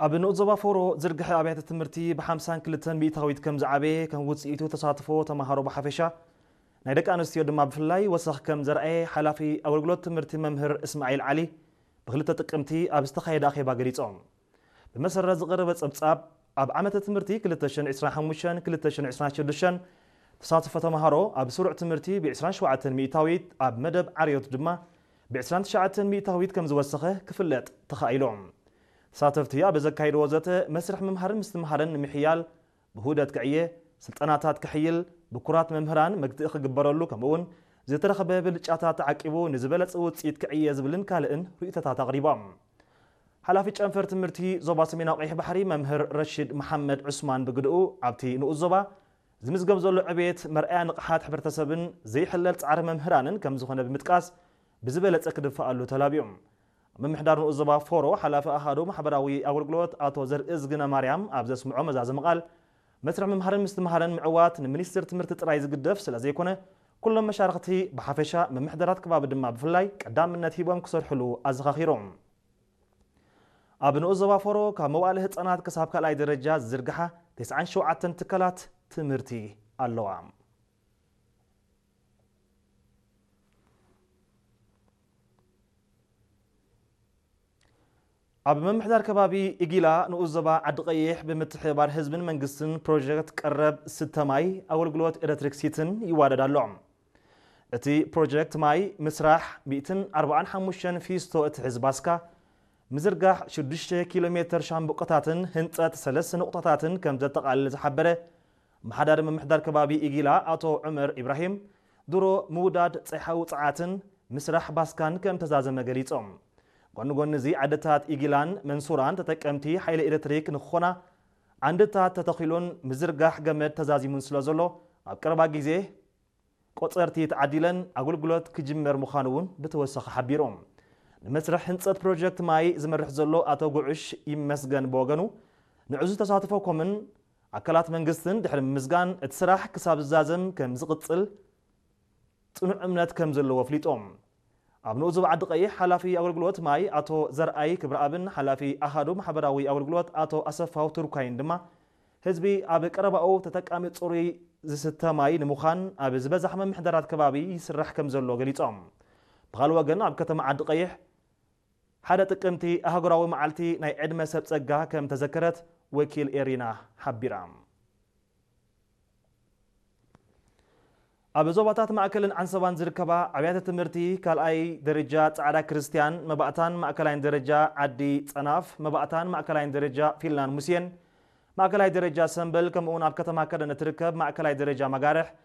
ኣብ ንኡስ ዞባ ፎሮ ዝርግሐ ኣብያተ ትምህርቲ ብ52 ሚእታዊት ከም ዝዓበየ፣ ከም ውፅኢቱ ተሳትፎ ተምሃሮ ብሓፈሻ፣ ናይ ደቂ ኣንስትዮ ድማ ብፍላይ ወሰኽ ከም ዘርኣየ ሓላፊ ኣገልግሎት ትምህርቲ መምህር እስማዒል ዓሊ ብ2 ጥቅምቲ ኣብ ዝተኻየደ ኣኼባ ገሊጾም። ብመሰረት ዝቐረበ ጸብጻብ፣ ኣብ ዓመተ ትምህርቲ 2026-2027 ተሳትፎ ተምሃሮ ኣብ ስሩዕ ትምህርቲ ብ27 ሚእታዊት፣ ኣብ መደብ ዓርዮት ድማ ብ29 ሚእታዊት ከም ዝወሰኸ ክፍለጥ ተኻኢሎም። ተሳተፍቲ ኣብ ዘካይድዎ ዘተ፣ መስርሕ ምምሃርን ምስትምሃርን ንምሕያል ብህውደት ክዕየ፣ ስልጠናታት ክሕይል፣ ብኩራት መምህራን መግትኢ ክግበረሉ፣ ከምኡውን ዝተረኸበ ብልጫታት ተዓቂቡ ንዝበለጸ ውጽኢት ክዕየ ዝብልን ካልእን ርእይቶታት ኣቕሪቦም። ሓላፊ ጨንፈር ትምህርቲ ዞባ ሰሜናዊ ቀይሕ ባሕሪ መምህር ረሺድ መሓመድ ዑስማን ብግድኡ፣ ኣብቲ ንኡስ ዞባ ዝምዝገብ ዘሎ ዕቤት መርኣያ ንቕሓት ሕብረተሰብን ዘይሕለል ጻዕሪ መምህራንን ከም ዝኾነ ብምጥቃስ፣ ብዝበለጸ ክድፈኣሉ ተላቢዮም። ምምሕዳር ንኡስ ዞባ ፎሮ ሓላፊ ኣሃዱ ማሕበራዊ ኣገልግሎት ኣቶ ዘርእዝግነ ማርያም ኣብ ዘስምዖ መዛዘሚ ቃል፣ መስርሕ ምምሃርን ምስትምሃርን ምዕዋት ንሚኒስትር ትምህርቲ ጥራይ ዝግደፍ ስለ ዘይኮነ፣ ኩሎም መሻርኽቲ ብሓፈሻ፣ ምምሕዳራት ከባቢ ድማ ብፍላይ ቀዳምነት ሂቦም ክሰርሕሉ ኣዘኻኺሮም። ኣብ ንኡስ ዞባ ፎሮ ካብ መዋእለ ህጻናት ክሳብ ካልኣይ ደረጃ ዝዝርግሓ 97 ትካላት ትምህርቲ ኣለዋ። ኣብ ምምሕዳር ከባቢ ኢጊላ ንኡስ ዞባ ዓዲ ቀይሕ ብምትሕብባር ህዝብን መንግስትን ፕሮጀክት ቀረብ ስተ ማይ ኣገልግሎት ኤሌክትሪክሲትን ይዋደድ ኣሎ። እቲ ፕሮጀክት ማይ ምስራሕ 145 ፊስቶ እትሕዝ ባስካ፣ ምዝርጋሕ 6 ኪሎ ሜትር ሻምብቆታትን ህንጸት ሰለስተ ንቑጣታትን ከም ዘጠቓልል ዝሓበረ ኣመሓዳሪ ምምሕዳር ከባቢ ኢጊላ ኣቶ ዑመር ኢብራሂም፣ ድሮ ምውዳድ ጸሓዊ ጸዓትን ምስራሕ ባስካን ከም ተዛዘመ ገሊጾም። ጎኒ ጎኒ እዚ፣ ዓድታት ኢጊላን መንሱራን ተጠቀምቲ ሓይሊ ኤሌክትሪክ ንክኾና ዓንድታት ተተኺሉን ምዝርጋሕ ገመድ ተዛዚሙን ስለ ዘሎ፣ ኣብ ቀረባ ግዜ ቆጸርቲ ተዓዲለን ኣገልግሎት ክጅመር ምዃኑ እውን ብተወሳኺ ሓቢሮም። ንመስርሕ ህንጸት ፕሮጀክት ማይ ዝመርሕ ዘሎ ኣቶ ጉዑሽ ይመስገን ብወገኑ፣ ንዕዙዝ ተሳትፎ ኮምን ኣካላት መንግስትን ድሕሪ ምምስጋን፣ እቲ ስራሕ ክሳብ ዝዛዘም ከም ዝቕጽል ጽኑዕ እምነት ከም ዘለዎ ኣፍሊጦም። ኣብ ንኡስ ዞባ ዓዲ ቀይሕ ሓላፊ ኣገልግሎት ማይ ኣቶ ዘርኣይ ክብረኣብን ሓላፊ ኣሃዱ ማሕበራዊ ኣገልግሎት ኣቶ ኣሰፋው ቱርኳይን ድማ፣ ህዝቢ ኣብ ቀረባኡ ተጠቃሚ ጽሩይ ዝስተ ማይ ንምዃን ኣብ ዝበዛሕ ምምሕዳራት ከባቢ ይስራሕ ከም ዘሎ ገሊጾም። ብኻልእ ወገን፣ ኣብ ከተማ ዓዲ ቀይሕ ሓደ ጥቅምቲ ኣህጉራዊ መዓልቲ ናይ ዕድመ ሰብ ጸጋ ከም ተዘከረት ወኪል ኤሪና ሓቢራ። ኣብ ዞባታት ማእከልን ዓንሰባን ዝርከባ ኣብያተ ትምህርቲ ካልኣይ ደረጃ ጻዕዳ ክርስትያን፣ መባእታን ማእከላይን ደረጃ ዓዲ ጸናፍ፣ መባእታን ማእከላይን ደረጃ ፊንላንድ ሙሴን፣ ማእከላይ ደረጃ ሰምበል፣ ከምኡውን ኣብ ከተማ ከደን እትርከብ ማእከላይ ደረጃ መጋርሕ፣